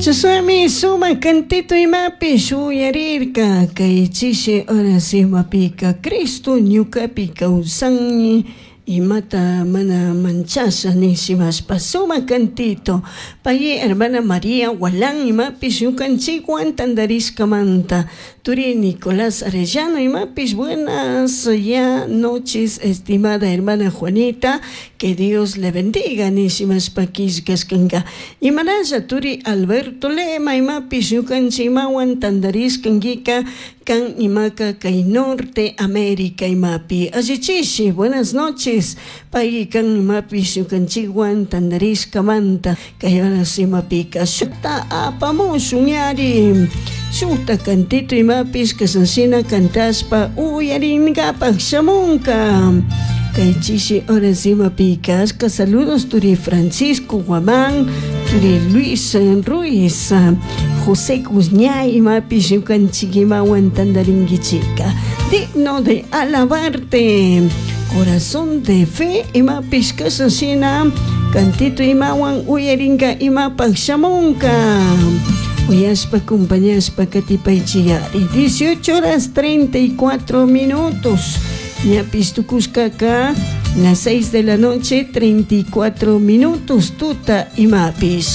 Chashnami sumak cantito imapish uyarirka kay chishi horas imapika Cristo ñukapi kawsanmi imata mana manchasha nishimashpa sumak cantito pay hermana María Gualán imapish ñukanchikwan tantarishkamanta turi Nicolás Arellano imapish buenas ya noches, estimada hermana Juanita, que Dios le bendiga nishimashpa killkashkanka. Imanalla turi Alberto Lema imapish ñukanchik imawan tantarishkankika kan imaka kay Norte América imapi allichishi buenas noches pay kan imapish ñukanchikwan tantarishkamanta kay horas imapika shukta apamushun yari shukta cantito imapish kashanshina cantashpa uyarinkapak shamunka kay chishi horas imapika ashka saludos turi Francisco Guamán, turi Luis Ruiz, José Guzñay imapish ñukanchik imawan tantarinkichika digno de alabarte, corazón de fe imapish kashanshina cantito imawan uyarinka imapak shamunka uyashpa acompañashpa katipaychiyari 18 horas 34 minutos ñapish tukushkaka las 6 de la noche 34 minutos tuta imapish.